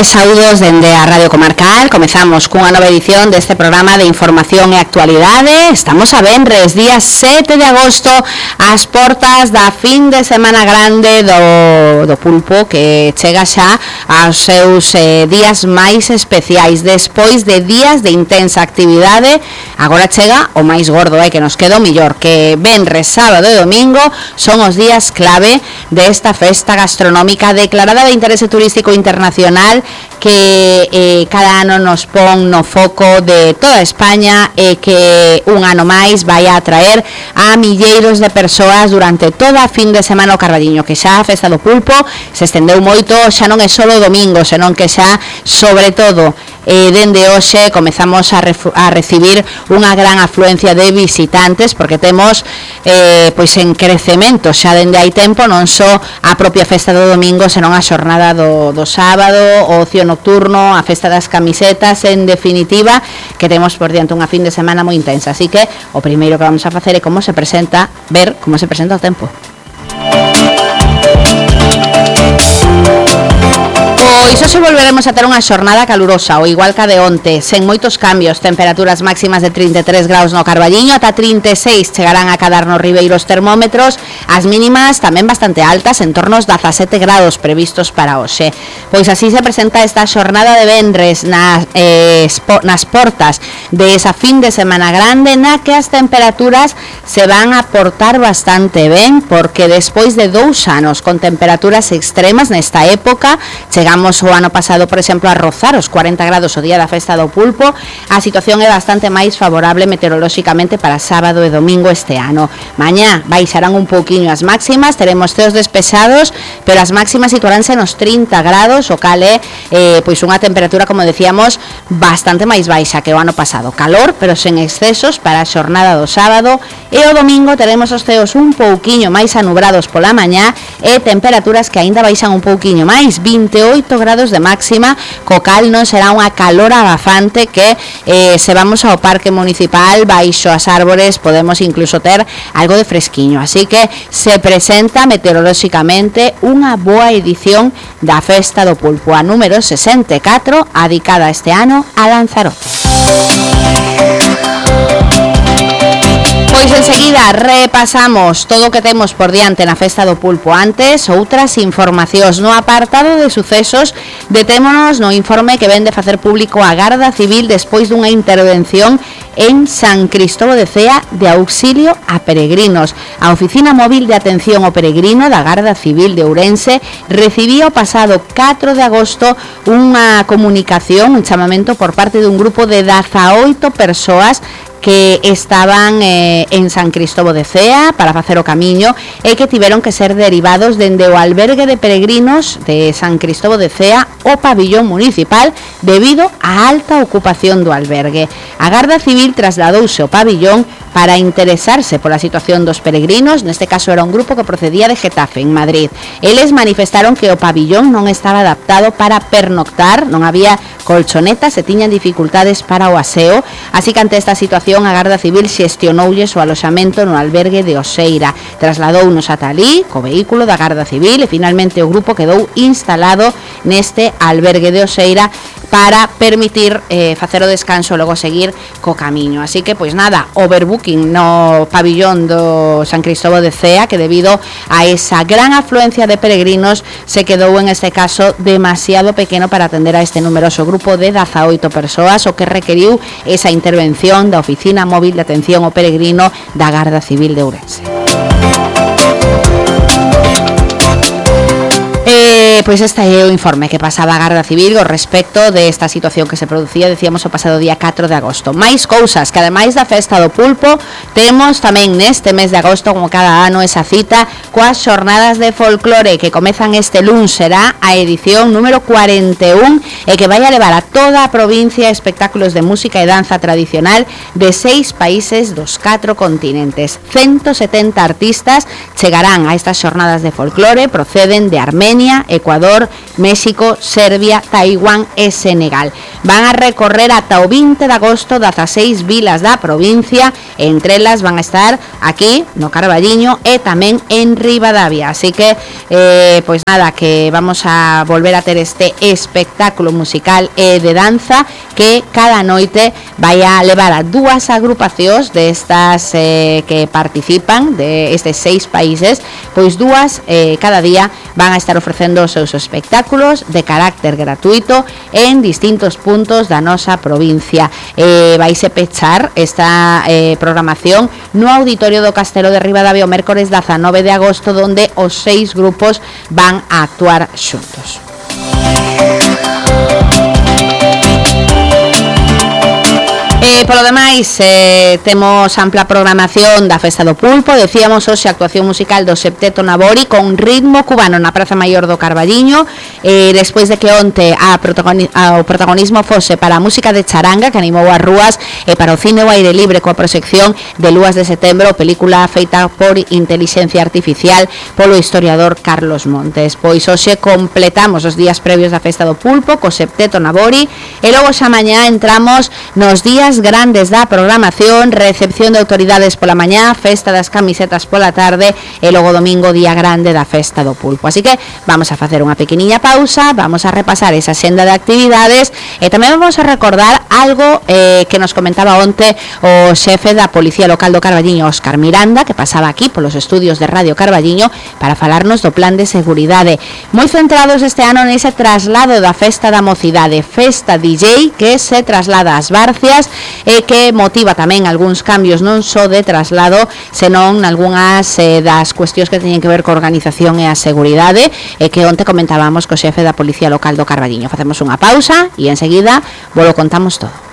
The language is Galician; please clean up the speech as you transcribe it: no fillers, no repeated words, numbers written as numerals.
Saúdos dende a Radio Comarcal. Comezamos cunha nova edición deste programa de información e actualidade. Estamos a venres, día 7 de agosto, ás portas da fin de semana grande do pulpo, que chega xa aos seus días máis especiais. Despois de días de intensa actividade, agora chega o máis gordo, que nos queda o millor, que venres, sábado e domingo son os días clave desta festa gastronómica declarada de interese turístico internacional, que cada ano nos pon no foco de toda España e que un ano máis vai a atraer a milleiros de persoas durante toda a fin de semana o Carballiño, que xa a festa do pulpo se estendeu moito, xa non é só o domingo, senón que xa, sobre todo, dende hoxe comezamos a recibir unha gran afluencia de visitantes, porque temos pois en crecemento xa dende hai tempo, non só a propia festa do domingo, senón a xornada do sábado, o ocio nocturno, a festa das camisetas, en definitiva, que temos por diante unha fin de semana moi intensa. Así que o primeiro que vamos a facer é ver como se presenta o tempo. Pois hoxe volveremos a ter unha xornada calurosa, o igual que a de onte, sen moitos cambios, temperaturas máximas de 33 graus no Carballiño, ata 36 chegarán a cadar nos ribeiros termómetros, as mínimas tamén bastante altas, en torno aos 17 graus previstos para hoxe. Pois así se presenta esta xornada de venres nas portas de esa fin de semana grande, na que as temperaturas se van a portar bastante ben, porque despois de 2 anos con temperaturas extremas nesta época, chegamos o ano pasado, por exemplo, a rozar os 40 grados o día da festa do pulpo. A situación é bastante máis favorable meteorolóxicamente para sábado e domingo este ano. Mañá baixarán un pouquiño as máximas, teremos ceos despejados, pero as máximas situaránse nos 30 grados, o cal é pois unha temperatura, como decíamos, bastante máis baixa que o ano pasado. Calor, pero sen excesos para a xornada do sábado, e o domingo teremos os ceos un pouquiño máis anubrados pola mañá e temperaturas que aínda baixan un pouquiño máis, 28 grados de máxima, co cal non será unha calor abafante que se vamos ao parque municipal, baixo as árbores, podemos incluso ter algo de fresquiño. Así que se presenta meteorolóxicamente unha boa edición da festa do pulpo, a número 64, adicada este ano a Lanzarote. Pois enseguida repasamos todo o que temos por diante na festa do pulpo. Antes, outras informacións. No apartado de sucesos, detémonos no informe que vén de facer público a Garda Civil despois dunha intervención en San Cristóbal de Cea de auxilio a peregrinos. A Oficina Móvil de Atención ao Peregrino da Garda Civil de Ourense recibía o pasado 4 de agosto unha comunicación, un chamamento por parte dun grupo de 18 persoas que estaban en San Cristóbal de Cea para facer o camiño e que tiveron que ser derivados dende o albergue de peregrinos de San Cristóbal de Cea ao pabillón municipal debido á alta ocupación do albergue. A Garda Civil trasladouse ao pabillón para interesarse pola situación dos peregrinos. Neste caso era un grupo que procedía de Getafe, en Madrid. Eles manifestaron que o pabillón non estaba adaptado para pernoctar, non había colchonetas e tiñan dificultades para o aseo, así que ante esta situación a Garda Civil xestionoulles o aloxamento no albergue de Oseira, trasladounos ata alí co vehículo da Garda Civil e finalmente o grupo quedou instalado neste albergue de Oseira para permitir facer o descanso e logo seguir co camiño. Así que, pois nada, overbooking no pabillón do San Cristóbal de Cea, que debido a esa gran afluencia de peregrinos se quedou en este caso demasiado pequeno para atender a este numeroso grupo de 18 persoas, o que requeriu esa intervención da Oficina Móvil de Atención ao Peregrino da Garda Civil de Ourense. Pois este é o informe que pasaba a Garda Civil ao respecto desta situación que se producía, decíamos, o pasado día 4 de agosto. Mais cousas, que ademais da festa do pulpo temos tamén neste mes de agosto, como cada ano, esa cita coas xornadas de folclore que comezan este luns. Será a edición número 41 e que vai a levar a toda a provincia espectáculos de música e danza tradicional de 6 países dos 4 continentes. 170 artistas chegarán a estas xornadas de folclore, proceden de Armenia, Ecuador, Ecuador, México, Serbia, Taiwán e Senegal. Van a recorrer ata o 20 de agosto 16 vilas da provincia, entre elas van a estar aquí no Carballiño e tamén en Ribadavia. Así que, pois nada, que vamos a volver a ter este espectáculo musical e de danza que cada noite vai a levar a dúas agrupacións destas que participan de estes 6 países, pois dúas cada día van a estar ofrecendo os seus espectáculos de carácter gratuito en distintos puntos da nosa provincia. Vaise pechar esta programación no Auditorio do Castelo de Ribadavia o mércores 19 de agosto, donde os 6 grupos van a actuar xuntos. Polo demais, temos ampla programación da Festa do Pulpo. Decíamos hoxe a actuación musical do Septeto Nabori con ritmo cubano na Praza Maior do Carballiño, despois de que onte o protagonismo fose para a música de charanga que animou as rúas e para o cine ao aire libre coa proxección de Lúas de Setembro, película feita por inteligencia artificial polo historiador Carlos Montes. Pois hoxe completamos os días previos da Festa do Pulpo co Septeto Nabori e logo xa mañá entramos nos días grandes da programación, recepción de autoridades pola mañá, festa das camisetas pola tarde e logo domingo día grande da Festa do Pulpo. Así que vamos a facer unha pequeniña pausa, vamos a repasar esa senda de actividades e tamén vamos a recordar algo que nos comentaba onte o xefe da Policía Local do Carballiño, Óscar Miranda, que pasaba aquí polos estudios de Radio Carballiño para falarnos do plan de seguridade. Moi centrados este ano nese traslado da Festa da Mocidade, Festa DJ, que se traslada ás Barcias e que motiva tamén algúns cambios non só de traslado, senón algunhas das cuestións que teñen que ver co organización e a seguridade, e que onte comentábamos co xefe da Policía Local do Carballiño. Facemos unha pausa e enseguida volo contamos todo.